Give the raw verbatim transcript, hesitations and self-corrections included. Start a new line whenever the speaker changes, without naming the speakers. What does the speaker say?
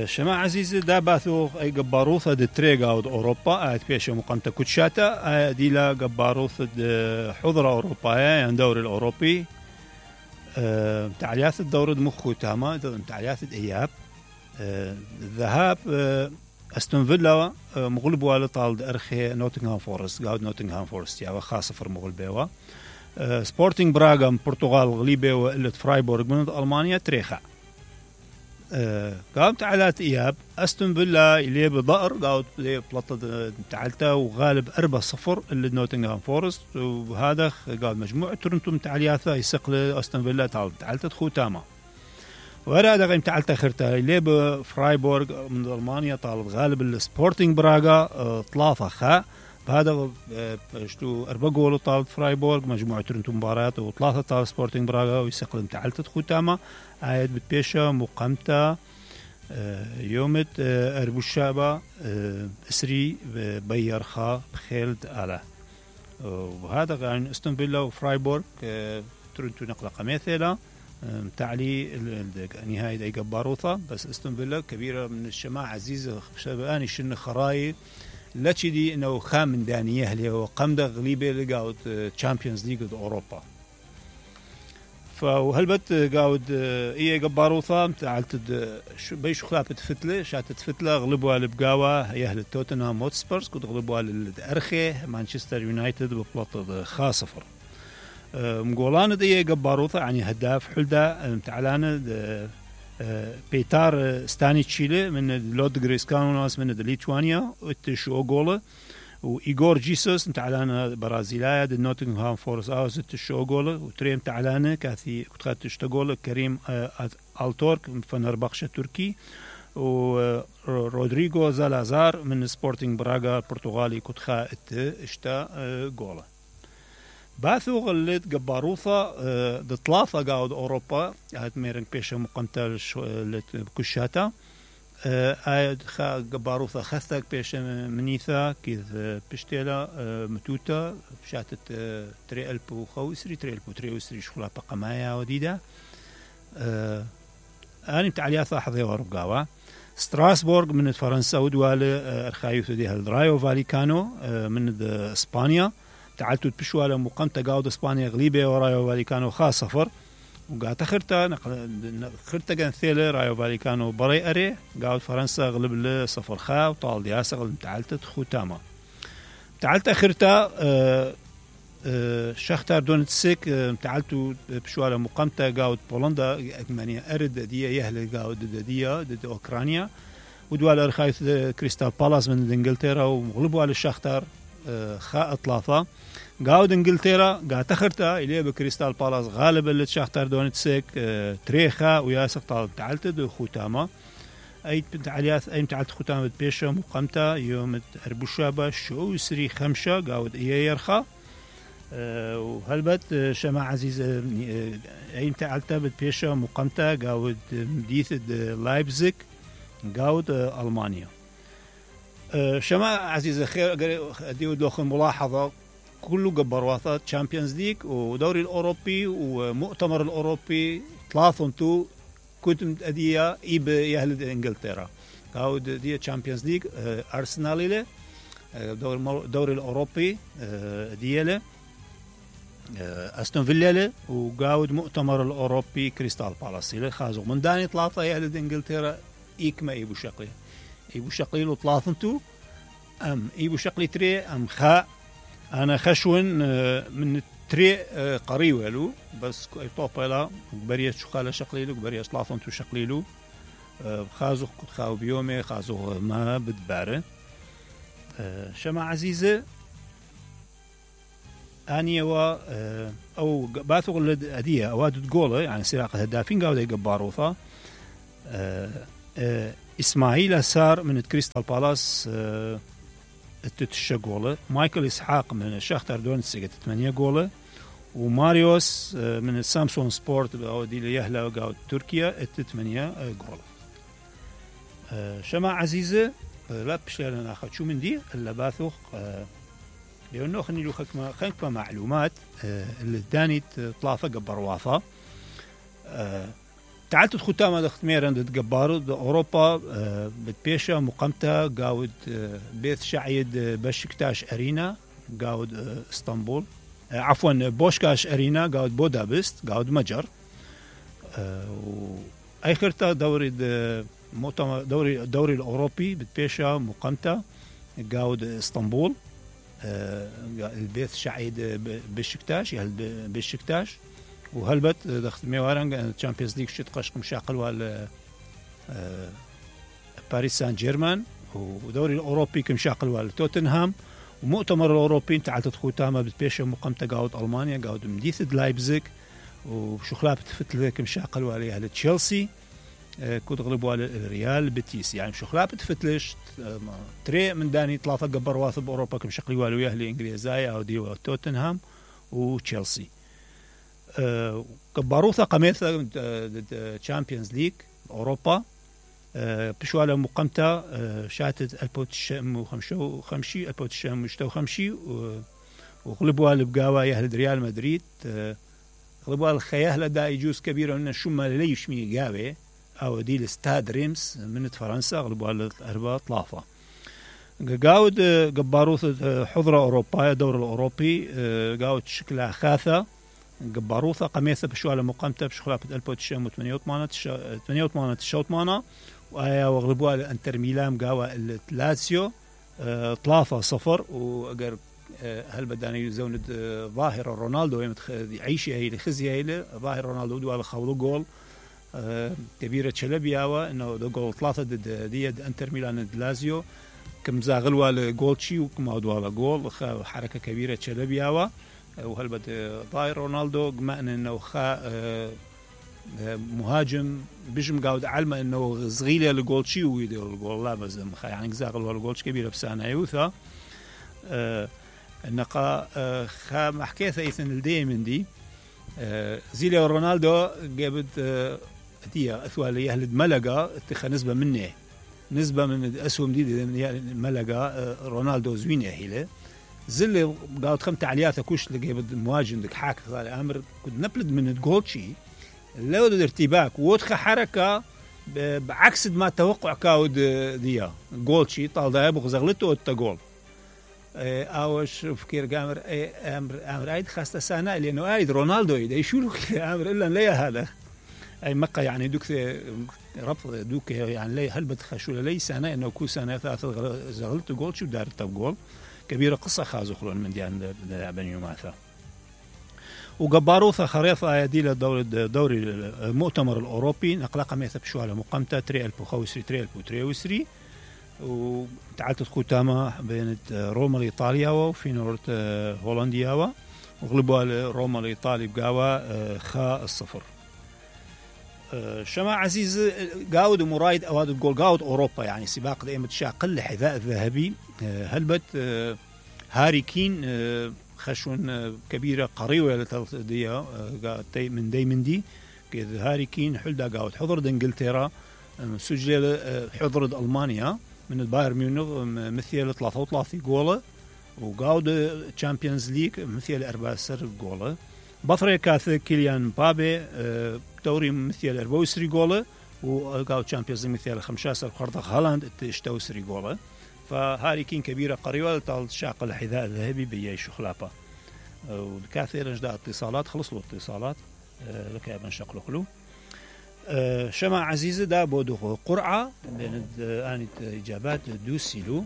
شما عزيزي دا باثو اي قباروثة دي تريقا ود اوروبا ات بيشا مقامتا كوتشاتا دي لا قباروثة دي حضرة اوروبايا يعني دوري الاوروبي تعليات الدورة مخو تاما تعليات اياب الذهاب استون فيلا مغلبوا على طالد ارخي نوتنغهام فورست قاعد نوتنغهام فورست يعني خاصة فر مغلبوا سبورتينغ براغا من البرتغال غليبه وقلت فرايبورغ من المانيا تريخا قام تعالات اياب استون فيلا اللي بضأر قاعد بلطة تعالتا وغالب أربعة صفر اللي نوتنغهام فورست وهذا قاعد مجموعة تورنتو تعالياتها يسقل استون فيلا تعالتا تخو تاما وهذا قيم تعالتا خرتا اللي بفرايبورغ من المانيا طالب غالب السبورتينغ براغا ثلاثة خا بهذا شتو أربعة جول طالب فرايبورغ مجموعة تورنتو مباريات وثلاثة طالب سبورتينغ براغا ويسقل تعالتا تخو تاما عايد بتبيشا مقامتا يومت أربوشابا إسري بيرخا بخيلد على وهذا يعني استون فيلا وفرايبورغ تورنتو نقلة قميثيلا تعلي نهاية أي قباروثة بس استون فيلا كبيرة من الشماعة عزيزة شباني شن خراي لا تشدي إنه خامن دانية اللي هو قمدة غليبة لقاود تشامبيونز ليج أوروبا فهلبت قاود إيه قباروثة تعالت بيش خلافة فتلة شاتت فتلة غلبوا على بقاوة يهل توتنهام هوتسبيرز كنت غلبوا على الأرخي مانشستر يونايتد ببلطة خاصفر مقولان دي قباروثة يعني هداف حلدا تعالان بيتار ستاني تشيلي من لودغريس كانوناس من ليتوانيا وتشو غوله وإيغور جيسوس تعالان برازيليا دي نوتنغهام فورست اوز تشو غوله وتريم تعالان كاثي كنت تشتغول كريم التورك من فنربخشة تركي ورودريغو زالازار من سبورتينغ براغا البرتغالي كنت خاءت اشتا غوله باثو غلت قباروثة دي ثلاثة قاود أوروبا هاد ميرن بيشا مقامتا كشاتا هاد خا قباروثة خثك بيشا منيثا كيف بشتيلا متوتا شاتت تري ألبو خوسري تري ألبو تري وسري شخلا بقمايا وديدا أنا متعلياثا حظي ورقاوة ستراسبورغ من فرنسا ودوالي أرخايوث دي هالرايو فاليكانو من إسبانيا تعالتو تبشوا على مقامتا قاود اسبانيا غليبه ورايو فاليكانو خاص صفر وقعدت خرتا خرتا كان ثيله رايو فاليكانو بري اري قاود فرنسا غلب له صفر خا وطال دياسه غلب تعالت تخو تاما تعالت خرتا أه أه شختار دونتسك أه تعالتو بشوا على مقامتا قاود بولندا ثمانية ارد دي يهل قاود دي ضد اوكرانيا ودوال ارخايث كريستال بالاس من انجلترا وغلبوا على الشختار خاء ثلاثة قاود انجلترا قاعد تخرتا إليه بكريستال بالاس غالب اللي تشاختار دونتسك اه تريخا وياسق طالب تعالت دو خوتاما أي تعاليات أي تعالت خوتاما بيشا مقامتا يوم أربوشابا شو سري خمشة قاود إيه يرخا اه وهلبت شما عزيز اه أي تعالتا بيشا مقامتا قاود مديث لايبزيك قاود اه ألمانيا شما عزيز خير اديو دوخ ملاحظه كله قبرواتات تشامبيونز ليج ودوري الاوروبي ومؤتمر الاوروبي ثلاثه كنت اديا ايب يهل انجلترا قاود دي تشامبيونز ليج ارسنال له دور دوري الاوروبي دياله استون فيلا له وقاود مؤتمر الاوروبي كريستال بالاس له خازو من داني ثلاثه يهل انجلترا ايكما ايبو شقي يبو شقيلو ثلاثنتو أم يبو شقلي تري أم خاء أنا خشون من تري قريولو بس طوبلا بريش شقالة شقليلو بريش ثلاثنتو شقليلو خازو كنت خاو بيومي خازو ما بدباره شما عزيزة أني و أو باثو غلد أدية أواد تقوله يعني سراقة هدافين قاودة يقباروثا إسماعيل سار من كريستال بالاس تتشا جولة مايكل إسحاق من شختار دونتسك ثمانية جولة وماريوس من سامسون سبورت دي ليهلا قاود تركيا ثمانية جولة شما عزيزة لا بشلنا ناخذ شو من دي اللي باثوخ لأنه خلني لو خكمة خكمة معلومات اللي داني ثلاثة قبر واثا تعالت ختامة دختميرا تقبارو أوروبا بتبيشا مقامتا قاود بيث شعيد بشكتاش أرينا قاود اسطنبول عفوا بوشكاش أرينا قاود بودابست قاود مجر وآخرتا دوري مؤتمر دوري الدوري الأوروبي بتبيشا مقامتا قاود اسطنبول البيث شعيد بشكتاش يهل بشكتاش وهلبت دخت ميوارنج تشامبيونز ليج شت قشق مشاقل وال باريس سان جيرمان ودوري الاوروبي كمشاقل وال توتنهام ومؤتمر الاوروبي تعال تدخل تاما بتبيش مقامته قاود المانيا قاود مديث لايبزيج وشخلاب تفتل كمشاقل وال على تشيلسي كود غلبوا على الريال بيتيس يعني شخلاب تفتلش تري من داني ثلاثه قبر واثب اوروبا كمشاقل وال وياه الانجليزايه او دي توتنهام وتشيلسي كباروثا قميثا تشامبيونز ليج أوروبا بشوالا مقامتا شاتت البوتشام وخمشو خمشي البوتشام وشتو خمشي وغلبوا البقاوة يهل ريال مدريد غلبوا الخياه لدا يجوز كبيرة من الشمة ليش مي قاوة أو دي الاستاد ريمس من فرنسا غلبوا الأربعة طلافة قاود قباروث حضرة أوروبا دور الأوروبي قاود شكلها خاثة قباروثا قميثة بشوالا مقامته بشخلاب البوتشام وثمانية وثمانين الشوط مانا وآيا وغلبوا الانتر ميلان قاوة لاتسيو ثلاثة صفر وأجر هل بداني زوند ظاهر رونالدو يعيش هي خزي هي ظاهر رونالدو دوا خولو جول كبيرة شلبياوة إنه ده جول ثلاثة ضد دي انتر ميلان ضد لازيو كم زاغلوا الجولشي وكم أدوا جول حركة كبيرة شلبياوة وهل بد ظاهر رونالدو قمأن إنه خا مهاجم بيجم قاود علمه إنه صغيرة الجول شيء ويدير الجول لا بزم خا يعني زاغل والجولش كبيرة بسانة يوثا النقا خا محكيث إيثن الديمن دي زيليا رونالدو جابت تيا أثوالي أهل ملقا اتخا نسبة منه نسبة من الأسهم دي ملقا رونالدو زوينة هيله زل قاعد خم تعليات كوش لقي بد مواجن دك حاك صار امر كنت نبلد من الجولشي لو ارتباك وتخ حركه بعكس ما توقع كاود ديا جولشي طال ده يبغى زغلته التجول اوش فكير قامر امر امر عيد خاصه سنه لانه عيد رونالدو يدا شو امر الا لا هذا اي مقا يعني دوك ربط دوك يعني لي هل بتخشوا لي سنه انه كو سنه ثلاثه زغلته جولشي ودار التجول كبيرة قصة خازو خلون من ديان بني ماثا وقباروثا خريطة يدي لدوري دوري المؤتمر الأوروبي نقلق ميثا بشوالا مقامتا تري ألبو خوسري تري ألبو تري وسري وتعالت ختامة بين روما الإيطاليا وفي نورت هولنديا وغلبوا روما الإيطالي بقاوة خا الصفر شما عزيز قاود ومرايد أواد تقول قاود أوروبا يعني سباق دائما تشاقل الحذاء الذهبي هلبت هاري كين خشون كبيرة قريوة دي من دايمن دي كذا هاري كين حلدا قاود حضر انجلترا سجل حضر ألمانيا من البايرن ميونخ مثل ثلاثة وثلاثين جولة وقاود تشامبيونز ليج مثل أربعة سر جولة بطريقة كاث كيليان مبابي دوري مثل أربعة وعشرين جولة وقاود تشامبيونز ليج مثل خمسة قرض هالاند اشتو سري جولة فهاري كين كبيرة قريبة طال شاق الحذاء الذهبي بيعيش خلافة وكثير جدا اتصالات خلص له اتصالات لك يا بن شقلو خلو شمع عزيزة دا بودو قرعة بين آنت إجابات دوسيلو